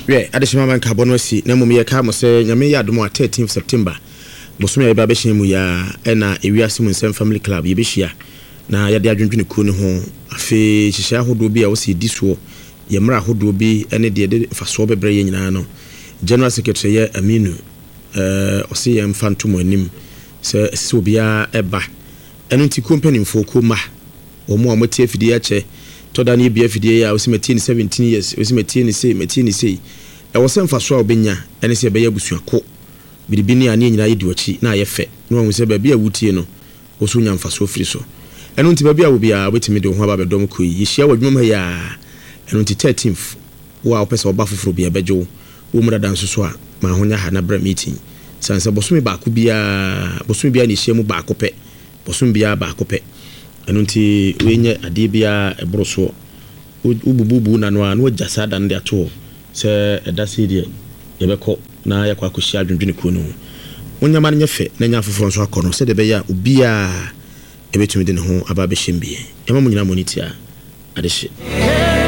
Wiɛ, adehyema ma nkabɔ no asi, na mmom yɛkae mo sɛ Nyame yɛ adom a 13th September, bosome a yɛba abɛhyɛn mu yi ara, ɛna Ewiase mu Nsɛm Family Club yɛbɛhyia na yɛde adwendwene kuo no ho, afei nhyehyɛe ahodoɔ bi a ɛwɔ sɛ yɛdi soɔ, yɛn mmara ahodoɔ bi ne deɛ ɛde mfasoɔ bɛbrɛ yɛn nyinaa no, General Secretary yɛ Aminu, ɔse yɛn mfa nto mo anim sɛ ɛsɛ sɛ obiara ba. Ɛno nti kuo mpanimfoɔ, kuo mma, wɔn a wɔatie afidie akyɛ, tɔ da no yɛbue afidie yi a, wose matie no 17 years, wose matie no sei, matie no sei. Ɛwɔ sɛ mfasoɔ a wobɛnya ne sɛ yɛbɛyɛ abusuakuo, biribi ne a ne yɛn nyinaa yɛdi w'akyi na ayɛ fɛ, na wahu sɛ baabi a wotie no, wo nso wonya mfasoɔ firi so. Ɛno nti baabi a wɔ biara wobɛtumi de wo ho aba abɛdɔm kuo yi. Yɛhyia wɔ adwuma mu ha yi ara, ɛno nti 13th, wo a wopɛ sɛ woba foforɔ biara bɛgye wo, wɔ mu dada nso so a, ma ho nyɛ ha na bra meeting. Sane sɛ bosome baako biara, bosome biara na yɛhyia mu baako pɛ, bosome biara baako pɛ. Ɛno nti wei nyɛ adeɛ biara a ɛboro soɔ. Wobububu wo nna no ara na woagya saa da no de ato hɔ sɛ ɛda sei deɛ yɛbɛkɔ na yɛakɔ akɔhyia adwendwene kuo no ho. Mo nneɛma no nyɛ fɛ na ɛnyɛ afoforɔ nso akɔnnɔ sɛdeɛ ɛbɛyɛ a obiara bɛtumi de ne ho aba abɛhyɛ mu bi. Yɛma mo nyinaa mo ani tia adehye.